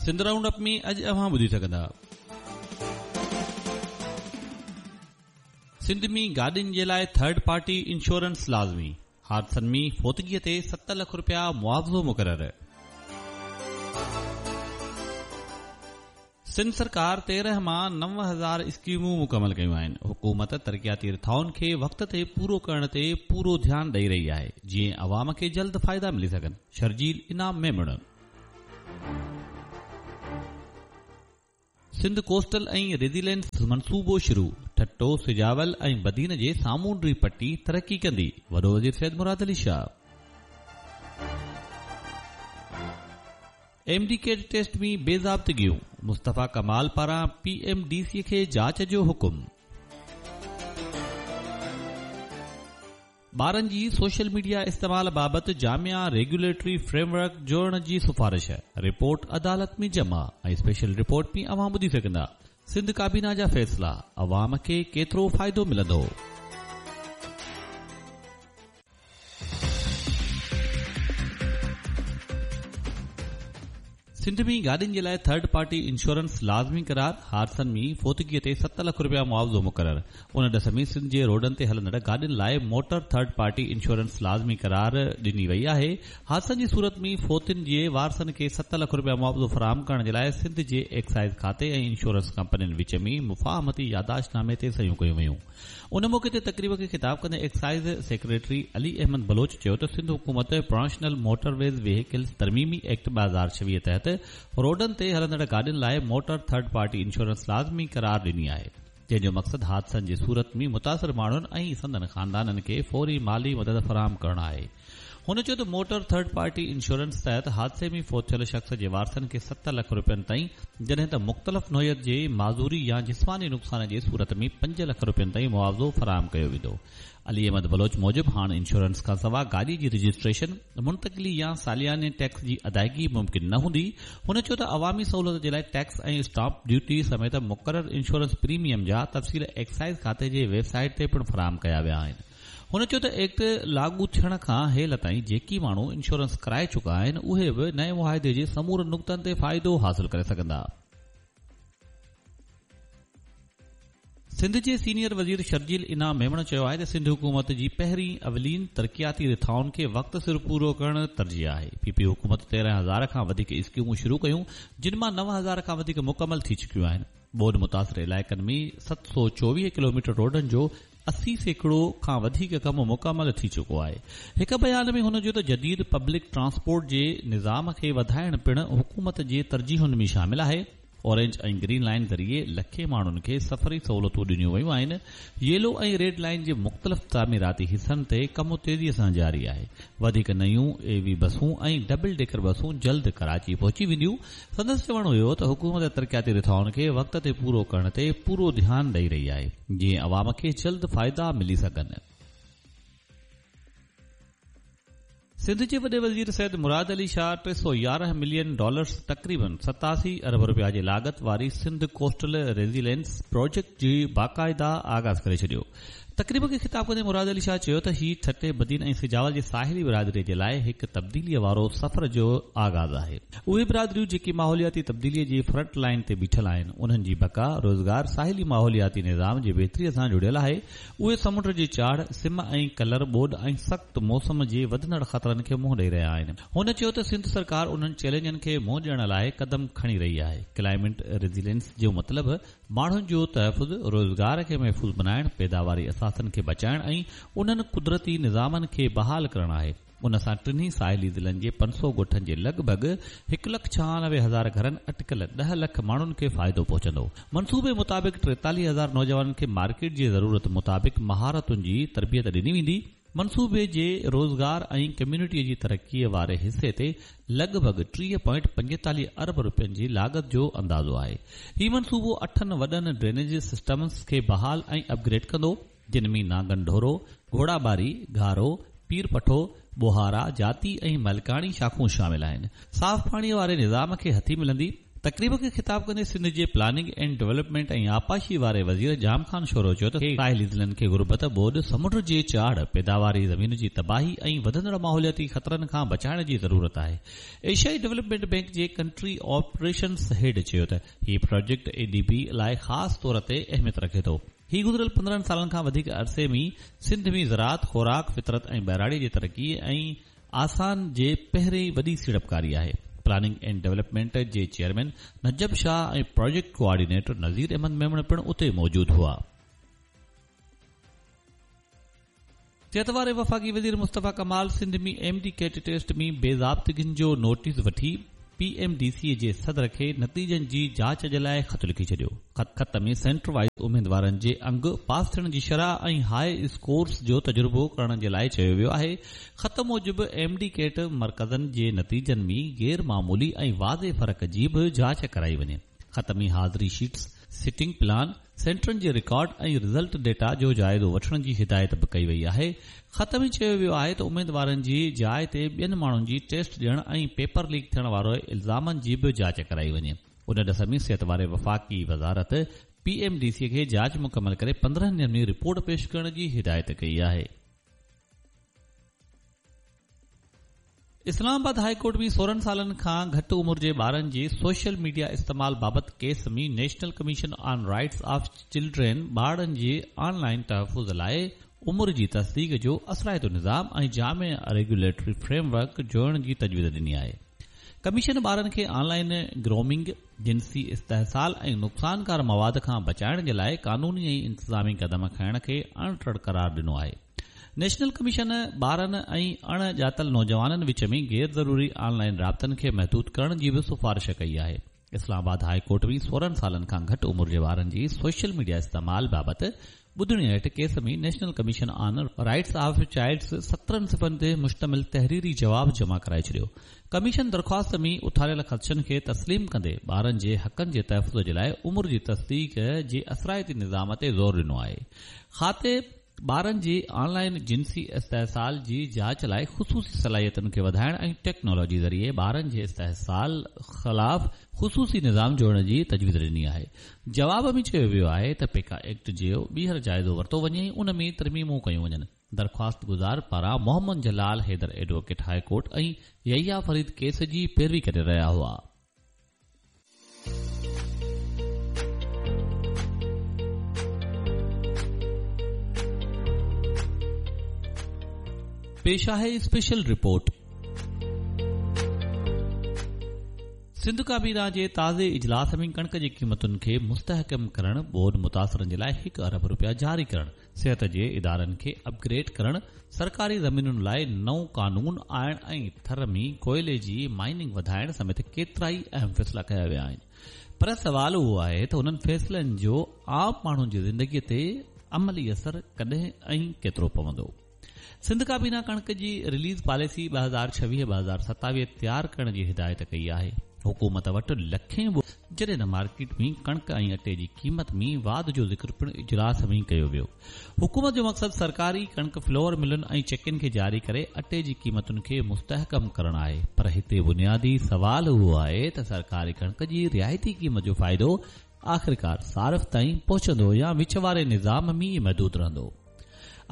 Sindh round up ۾ اڄ اوهان ٻڌي سگهندا. سنڌ ۾ گاڏين جي لاء ٿرڊ پارٽي انشورنس لازمي، حادثن ۾ فوتگي تي 7 لک رپيا معاوضو مقرر. سنڌ سرڪار 13 مان 9000 اسڪيمون مڪمل ڪيون آهن، حڪومت ترقياتي رٿائن کي وقت تي پورو ڪرڻ تي پورو ڌيان ڏئي رهي آهي، جيئن عوام کي جلد فائدا ملي سگهن، شرجيل انعام ميمڻ. سنڌ ڪوسٽل ۽ ريزيلينس منصوبو شروع، ٺٽو، سجاول ۽ بدين جي سامونڊي پٽي ترقي ڪندي، وڏو وزير Syed Murad Ali Shah. M D CAT test ۾ بي ضابطگيون، مصطفيٰ ڪمال پاران پي ايم ڊي سي کي جاچ جو حڪم. ٻارن جي سوشل ميڊيا استعمال بابت جامع ريگيوليٽري فريم ورڪ جوڙڻ جي سفارش، رپورٽ عدالت ۾ جمع ۽ اسپيشل رپورٽ ۾ اوهان ٻڌي سگهندا سنڌ ڪابينا جا فيصلا، عوام کي ڪيترو فائدو ملندو؟ سنڌ ۾ گاڏين جي لاء ٿرڊ پارٽي انشورنس لازمي قرار، حادثن ۾ فوتگي تي 7 لک رپيا معاوضو مقرر. ان ڏس ۾ سنڌ جي روڊن تي هلندڙ گاڏين لاء موٽر ٿرڊ پارٽي انشورنس لازمي قرار ڏني وئي آهي. حادثن جي صورت ۾ فوتين جي وارثن کي 7 لک رپيا معاوضو فراهم ڪرڻ جي لاء سنڌ جي ايڪسائيز کاتي ۽ انشورنس ڪمپنين وچ ۾ مفاهمتي يادداشت نامي تي صحيحون ڪيون ويون. ان موقعي تي تقريب کي خطاب ڪندي ايڪسائيز سيڪريٽري علي احمد بلوچ چيو ته سنڌ حڪومت پرانشنل موٽر ويز وهيڪلز ترميمي ايڪٽ 2026 تحت روڊن تي هلندڙ گاڏين لاء موٽر ٿرڊ پارٽي انشورنس لازمي قرار ڏني آهي جنهن جو مقصد حادثن جي صورت ۾ متاثر ماڻهن ۽ سندن خاندانن کي فوري مالي مدد فراهم ڪرڻ آهي. هن چيو ته موٽر ٿرڊ پارٽي انشورنس تحت حادثي ۾ فوت ٿيل شخص جي وارثن کي 7 لک رپين تائين جڏهن ته مختلف نوعيت جي معذوري يا جسماني نقصان جي صورت ۾ 5 لک رپين تائين معاوضو فراهم ڪيو ويندو. علي احمد بلوچ موجب هاڻ انشورنس کانسواء گاڏي جي رجسٽريشن، منتقلي يا سالياني ٽيڪس جي ادائيگي ممڪن نه هوندي. هن چيو ته عوامي سهولت جي لاء ٽيڪس ۽ اسٽامپ ڊيوٽي سميت مقرر انشورنس پريميم جا تفصيل ايڪسائيز کاتي جي ويب سائيٽ تي پڻ فراهم ڪيا ويا آهن. هن چيو ته ايڪٽ لاڳو ٿيڻ کان هيل تائين جيڪي ماڻهو انشورنس ڪرائي چڪا آهن اهي به نئين معاهدي جي سمورن نقطن تي فائدو حاصل ڪري سگهندا. سنڌ جي سينيئر وزير شرجيل انعام ميمڻ چيو آهي ته سنڌ حڪومت جي پهرين اولين ترقياتي رٿائن کي وقت سر پورو ڪرڻ ترجيح آهي، پي پي حڪومت 13 هزار کان وڌيڪ اسڪيمون شروع ڪيون جن مان 9000 کان وڌيڪ مڪمل ٿي چڪيون آهن، ٻوڏ متاثر علائقن ۾ 724 ڪلوميٽر روڊن جو 80% کان وڌيڪ ڪم مڪمل ٿي چڪو آهي. هڪ بيان ۾ هن چيو ته جديد پبلڪ ٽرانسپورٽ جي نظام کي وڌائڻ پڻ حڪومت جي ترجيحن ۾ شامل آهي. اورينج ۽ گرين لائين ذريعي لکين ماڻهن کي سفري سهولتون ڏنيون ويون آهن. ييلو ۽ ريڊ لائين جي مختلف تعميراتي حصن تي ڪم تيزي سان جاري آهي. وڌيڪ نيون اي وي بسون ۽ ڊبل ڊيڪر بسون جلد ڪراچي پهچي وينديون. سندس چوڻ هيو ته حڪومت ترقياتي رٿائن کي وقت تي پورو ڪرڻ تي پورو ڌيان ڏئي رهي آهي جيئن عوام کي جلد فائدا ملي سگهن. سنڌ جي وڏي وزير سيد مراد علي شاهه 311 ملين ڊالرز تقريبن 87 ارب رپيا جي لاڳت واري سنڌ ڪوسٽل ريزيلينس پراجيڪٽ جي باقاعده آغاز ڪري ڇڏيو. تقريب کي خطاب ڪندي مراد علي شاهه چيو ته هي ٺٽي، بدين ۽ سجاول جي ساحلي برادري جي لاء هڪ تبديليء وارو سفر جو آغاز آهي. اهي برادريون جيڪي ماحولياتي تبديليء جي فرنٽ لائين تي بيٺل آهن، انهن جي بقا، روزگار، ساحلي ماحولياتي نظام جي بهتري سان جڙيل آهي. اهي سمنڊ جي چاڙهه، سم ۽ ڪلر، ٻوڏ ۽ سخت موسم جي وڌندڙ خطرن کي منهن ڏئي رهيا آهن. هن چيو ته سنڌ سرڪار انهن چئلينجن کي منهن ڏيڻ لاء قدم کڻي رهي آهي. ڪلائمينٽ ريزيلينس جو مطلب ماڻهن جو تحفظ، روزگار کي محفوظ بنائڻ، پيداواري اثاثن کي بچائڻ ۽ انهن قدرتي نظامن کي بحال ڪرڻ آهي. ان سان ٽنهي ساحلي ضلعن جي 500 ڳوٺن جي لڳ ڀڳ 1,96,000 گهرن اٽڪل 10 لک ماڻهن کي فائدو پهچندو. منصوبي مطابق 43,000 نوجوانن کي مارڪيٽ جي ضرورت مطابق مهارتن جي تربيت ڏني ويندي. منصوبي جي روزگار ۽ ڪميونٽي جي ترقي واري حصي تي لڳ ڀڳ 30.45 ارب رپين جي لاڳت جو اندازو آهي. هي منصوبو اٺن وڏن ڊرينيج سسٽمز کي بحال ۽ اپ گريڊ ڪندو، جن ۾ نانگن ڍورو، گهوڙاٻاري، گهارو، پير پٺو، ٻوهارا، جاتي ۽ ملڪاڻي شاخون شامل آهن. صاف پاڻي واري نظام کي هٿي ملندي. تقريب کي خطاب ڪندي سنڌ جي پلاننگ اينڊ ڊولپمينٽ ۽ آبپاشي واري وزير ڄام خان شورو چيو ته ساحلي ضلعن کي غربت، ٻوڏ، سمنڊ جي چاڙهه، پيداواري زمين جي تباهي ۽ وڌندڙ ماحولياتي خطرن کان بچائڻ جي ضرورت آهي. ايشيائي ڊولپمينٽ بئنڪ جي ڪنٽري آپريشنز هيڊ چيو ته هي پراجيڪٽ اي ڊي بي لاء خاص طور تي اهميت رکي ٿو. هي گذريل 15 سالن کان وڌيڪ عرصي ۾ سنڌ ۾ زراعت، خوراڪ، فطرت ۽ ٻهراڙي جي ترقي ۽ آسان جي پهرين وڏي سيڙپڪاري آهي. پلاننگ اينڊ ڊولپمينٽ جي chairman Najab Shah ۽ project coordinator Nazir Ahmed Memon پڻ اتي موجود هئا. صحت واري وفاقي وزير Mustafa Kamal Sindh ۾ M D CAT test ۾ بي ضابطگين جو نوٽيس وٺي پي ايم ڊي سي جي صدر کي نتيجن جي جاچ جي لاء خط لکي ڇڏيو. خط ۾ سينٽر وائيز اميدوارن جي انگ، پاس ٿيڻ جي شرح ۽ هاء اسڪورز جو تجربو ڪرڻ جي لاء چيو ويو آهي. خط موجب ايم ڊي ڪيٽ مرڪزن جي نتيجن ۾ غير معمولي ۽ واضح فرق جي به جاچ ڪرائي وڃي. خط ۾ حاضري شيٽس، سيٽنگ پلان، سينٽرن جي رڪارڊ ۽ رزلٽ ڊيٽا جو جائزو وٺڻ جي هدايت به ڪئي وئي آهي. خط ۾ چيو ويو آهي ته اميدوارن جي جاء تي ٻين ماڻهن جي ٽيسٽ ڏيڻ ۽ پيپر ليڪ ٿيڻ واري الزامن جي به جاچ ڪرائي وڃي. ان ڏس ۾ صحت واري وفاقي وزارت پي ايم ڊي سي کي جاچ مڪمل ڪري 15 ڏينهن ۾ رپورٽ پيش ڪرڻ جي هدايت ڪئي آهي. اسلام آباد هاء ڪورٽ ۾ 16 سالن کان گهٽ عمر جي ٻارن جي سوشل ميڊيا استعمال بابت case ۾ national commission on rights of children ٻارڙن جي آن لائن تحفظ لاء عمر جي تصديق جو اثرائتو نظام ۽ جامع ريگيوليٽري فريم ورڪ جوڙڻ جي تجويز ڏني آهي. ڪميشن ٻارن کي آن لائن گرومنگ، جنسي استحصال ۽ نقصانڪار مواد کان بچائڻ جي لاء قانوني ۽ انتظامي قدم کڻڻ کي اڻٽر قرار ڏنو آهي. نيشنل ڪميشن ٻارن ۽ اڻ ڄاتل نوجوانن وچ ۾ غير ضروري آن لائن رابطن کي محدود ڪرڻ جي به سفارش ڪئي آهي. اسلام آباد هاء ڪورٽ ۾ 16 سالن کان گهٽ عمر جي ٻارن جي سوشل ميڊيا استعمال بابت ٻڌڻي هيٺ case ۾ national commission on rights of childs 17 صفحن تي مشتمل تحريري جواب جمع ڪرائي ڇڏيو. ڪميشن درخواست ۾ اٿاريل خدشن کي تسليم ڪندي ٻارن جي حقن جي تحفظ جي لاء عمر جي تصديق جي اثرائتي نظام تي زور ڏنو آهي. خاطي ٻارن جي آن لائن جنسي استحصال جي جاچ لاء خصوصي صلاحيتن کي وڌائڻ ۽ ٽيڪنالاجي ذريعي ٻارن جي استحصال خلاف خصوصي نظام جوڙڻ جي تجويز ڏني آهي. جواب ۾ چيو ويو آهي ته پيڪا ايڪٽ جو ٻيهر جائزو ورتو وڃي ۽ ان ۾ ترميمون ڪيون وڃن. درخواست گذار پاران Muhammad Jalal Haider advocate high court ۽ Yahya Farid case جي پيروي ڪري رهيا هئا. پيش آهي اسپيشل رپورٽ. سنڌ ڪابينا جي تازي اجلاس ۾ ڪڻڪ جي قيمتن کي مستحڪم ڪرڻ، ٻوڏ متاثرن جي لاء 1 ارب رپيا جاري ڪرڻ، صحت جي ادارن کي اپ گريڊ ڪرڻ، سرڪاري زمينن لاء نئون قانون آڻڻ ۽ ٿر ۾ ڪوئلي جي مائننگ وڌائڻ سميت ڪيترائي اهم فيصلا ڪيا ويا آهن پر سوال اهو آهي ته انهن فيصلن جو عام ماڻهن جي زندگي تي عملي اثر ڪڏهن ۽ ڪيترو پوندو؟ سنڌ ڪابينا ڪڻڪ جي رليز پاليسي 2026 2027 تيار ڪرڻ جي هدايت ڪئي آهي. حڪومت وٽ لکين جڏهن ته مارڪيٽ ۾ ڪڻڪ ۽ اٽي جي قيمت ۾ واڌ جو ذڪر پڻ اجلاس ۾ ڪيو ويو. حڪومت جو مقصد سرڪاري ڪڻڪ فلور ملن ۽ چڪين کي جاري ڪري اٽي جي قيمتن کي مستحڪم ڪرڻ آهي پر هتي بنيادي سوال اهو آهي ته سرڪاري ڪڻڪ جي رعايتي قيمت جو فائدو آخرڪار صارف تائين پهچندو يا وچ واري نظام ۾ ئي محدود رهندو؟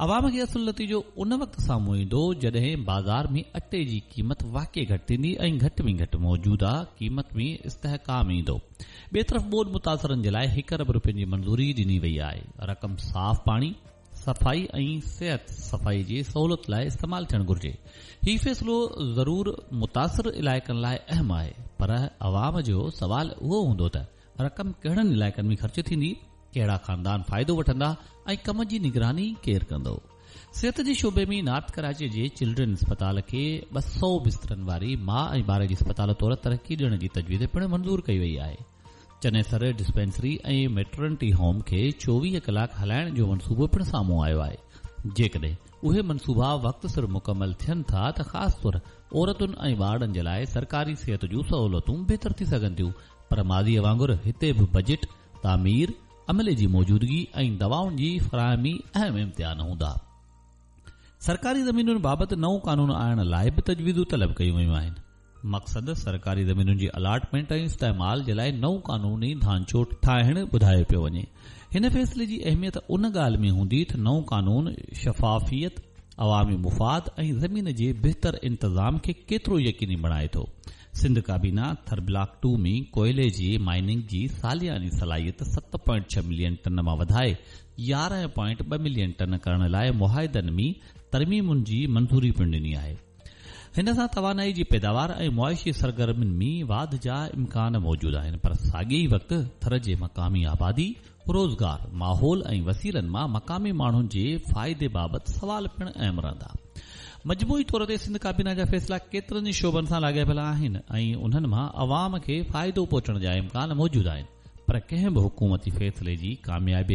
عوام کي اصل نتيجو ان وقت سامهون ايندو جڏهن بازار ۾ اٽي جي قيمت واقعي گهٽ ٿيندي ۽ گهٽ ۾ گهٽ موجوده قيمت ۾ استحڪام ايندو. ٻئي طرف ٻوڏ متاثرن جي لاء 1 ارب رپين جي منظوري ڏني وئي آهي. رقم صاف پاڻي، صفائي ۽ صحت صفائي جي سهولت لاء استعمال ٿيڻ گهرجي. هي فيصلو ضرور متاثر علائقن لاء اهم آهي پر عوام جو سوال اهو هوندو ته رقم ڪهڙن علائقن ۾ خرچ ٿيندي؟ ڪهڙا خاندان فائدو وٺندا ۽ ڪم جي نگراني ڪير ڪندو؟ صحت جي شعبي ۾ نارٿ ڪراچي جي چلڊرين اسپتال کي 200 بسترن واري ماء ۽ ٻار جي اسپتال طور ترقي ڏيڻ جي تجويز پڻ منظور ڪئي وئي آهي. چنيسر ڊسپينسري ۽ ميٽرنٽي هوم کي 24 ڪلاڪ هلائڻ جو منصوبو پڻ سامهون آيو آهي. جيڪڏهن اهي منصوبا وقت سر مڪمل ٿين ٿا ته خاص طور عورتن ۽ ٻارڙن جي لاء سرڪاري صحت جون سهولتون بهتر ٿي سگهن ٿيون پر ماضي وانگر هتي به بجيٽ، تعمير، عملي جي موجودگي ۽ دوائن جي فراهمي اهم امتحان هوندا. سرڪاري زمينن بابت نئون قانون آڻڻ لاء به تجويزون طلب ڪيون ويون آهن. مقصد سرڪاري زمينن جي الاٽمينٽ ۽ استعمال جي لاء نئون قانوني ڍانچو ٺاهڻ ٻڌايو پيو وڃي. هن فيصلي جي اهميت ان ڳالهه ۾ هوندي ته نئون قانون شفافيت، عوامي مفاد ۽ زمين جي بهتر انتظام کي ڪيترو يقيني بڻائي ٿو. سنڌ ڪابينا ٿر بلاڪ ٽو ۾ ڪوئلي جي مائننگ جي سالياني صلاحيت 7.6 ملين ٽن مان وڌائي 11.2 ملين ٽن ڪرڻ لاء معاهدن ۾ ترميمن جي منظوري پڻ ڏني آهي. هن سان توانائي جي پيداوار ۽ معاشي سرگرمين ۾ واڌ جا امڪان موجود آهن پر ساڳئي ئي وقت ٿر جي مقامي آبادي، روزگار، ماحول ۽ وسيلن مان مقامي ماڻهن جي فائدي بابت سوال پڻ اهم رهندا. مجموعي طور تي سنڌ ڪابينا جا فيصلا ڪيترن ئي شعبن سان لاڳاپيل آهن ۽ انهن مان عوام کي فائدو پهچڻ جا امڪان موجود آهن پر ڪنهن به حڪومتي فيصلي جي ڪاميابي.